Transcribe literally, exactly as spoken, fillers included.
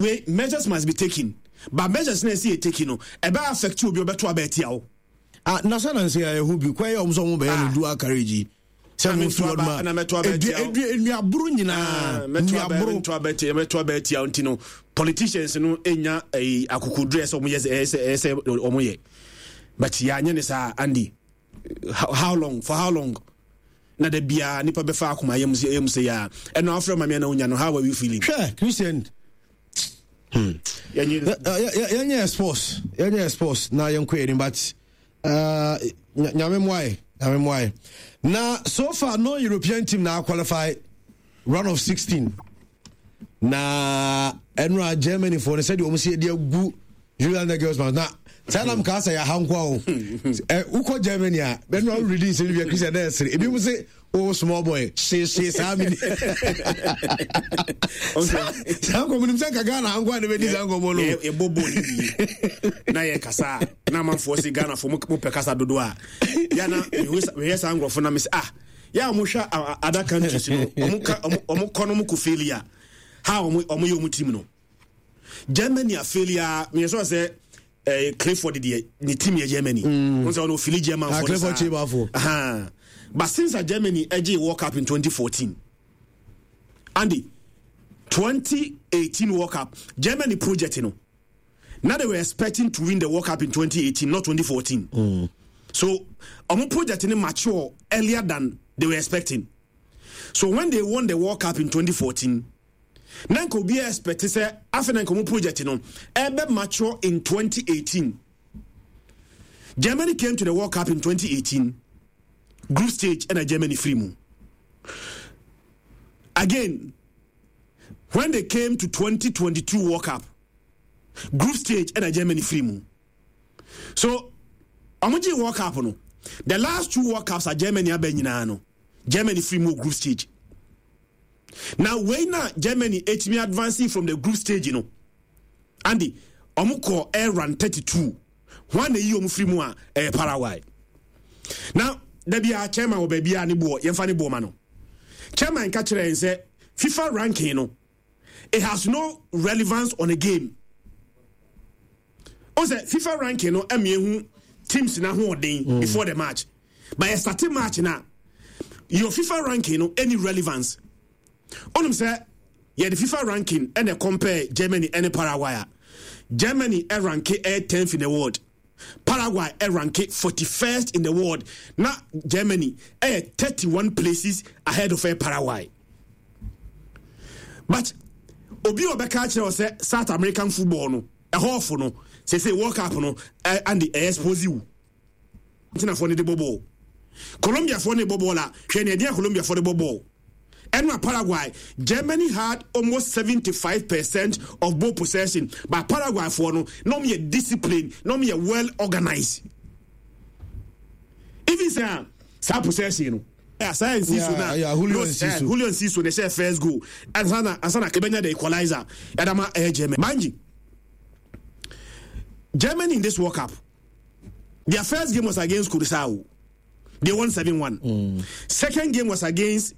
Wei, measures must be taken, but measures na ɛsɛ yɛ taken no, ɛbɛ affect obi ɔbɛto aba atia wo. Ah, na sɛ na nsɛ yɛ ɛho bi kwan yɛ ɔmo sɛ ɔmo bɛyɛ no ah. Dual carriage yi sɛ mo fi hɔ ma edua nnuaboro nyinaa nnuaboro mɛto aba atia, mɛto aba atia. Nti no politicians no enya ɛyi akokoduro ɛsɛ ɔmo yɛ, ɛsɛ ɛsɛ ɔmo yɛ, but yɛ anyɛ ne saa, Andy, how, how long, for how long na da biara nipa bɛfa akoma yam sɛ yam sɛ ya ɛno afrɛ ma me na wonya no? How are you feeling? Hwɛ, Christian, hmm. yɛnyɛ sports, yɛnyɛ sports na yɛnkɔ yɛnim, but uh, Nyame mmoae, Nyame mmoae. Na so far no European team na qualify round of sixteen. Na ɛno a Germany foɔ no, sɛdeɛ wɔn si de agu Julian Nagelsmann na saa nam kaa sɛ yɛaha nkoa o. Wokɔ Germany a, bɛno a woredi nsɛm bi a, Christian, na ɛsere ebi mu sɛ o small boy hyehyee saa mini saa nkɔmmɔ nim sɛ nka Ghana nkoa ne bɛdi saa nkɔmmɔ no. Yɛbɔ bɔɔl no wie na yɛkasa a, na amanfoɔ se Ghanafoɔ mopɛ kasa dodo a, yɛna mehwɛ saa nkurɔfoɔ na mesɛ, ah, yɛ a wɔhwɛ other countries no, ɔmo kɔ no, ɔmo kɔ failure ha, ɔmo yɛ ɔmo team no. Germany a failure, meyɛ sɛ sɛ eh, Clifford deɛ ne team yɛ Germany mm. Wọn sɛ ɔno ofili German fo Clifford Chibafo. But since a Germany ɛgye World Cup in twenty fourteen, Andy, twenty eighteen World Cup, Germany project no, now they were expecting to win the World Cup in twenty eighteen, not twenty fourteen. mm. So ɔmo project no mature earlier than they were expecting. So when they won the World Cup in twenty fourteen, na nka obi expect sɛ afei na nka ɔmo project no ɛbɛ mature in twenty eighteen. Germany came to the World Cup in twenty eighteen, group stage ɛna Germany firi mu. Again, when they came to twenty twenty-two World Cup, group stage ɛna Germany firi mu. So ɔmo gye World Cup no, the last two World Cups a Germany aba nyinaa no, Germany firi mu group stage. Na wei na Germany etimi advancing from the group stage no, Andy, ɔmo kɔ air round thirty-two, wɔn na eyi ɔmo firi mu a ɛyɛ Paraguay. Na dabi a chairman wɔ baabi a ne boɔ yɛmfa ne boɔ ma no, chairman ka kyerɛ yɛn sɛ FIFA ranking no, it has no relevance on a game. O sɛ FIFA ranking no ɛmi ehu teams n'ahoɔden mm. before the match, but yɛ start match na your FIFA ranking no any relevance. Ɔnum sɛ yɛde FIFA ranking ɛna compare Germany ɛne Paraguay a, Germany ɛrank ɛyɛ tenth in the world, Paraguay ɛrank forty first in the world. Na Germany ɛyɛ thirty one places ahead of Paraguay. But obi a ɔbɛka akyerɛ wɔ sɛ South American football no ɛhɔɔfo no sese World Cup no ɛ and ɛyɛ expose wo. Argentinafoɔ no de bɔ bɔɔl, Colombiafoɔ no de bɔ bɔɔl a, hwɛ nea ɛdeɛ Colombiafoɔ de bɔ bɔɔl ɛno a Paraguay. Germany had almost seventy five percent of ball possession, but Paraguay foɔ no na wɔn yɛ discipline, na wɔn yɛ well organized. Even sɛ saa possession no saa Enciso na Julio Enciso, Julio Enciso na ɛhyɛ first goal ansa na ansa na kebenya the equalizer ɛdama ɛyɛ Germany. Manji, Germany in this World Cup, their first game was against Curacao, they won seven one. Mm. Second game was against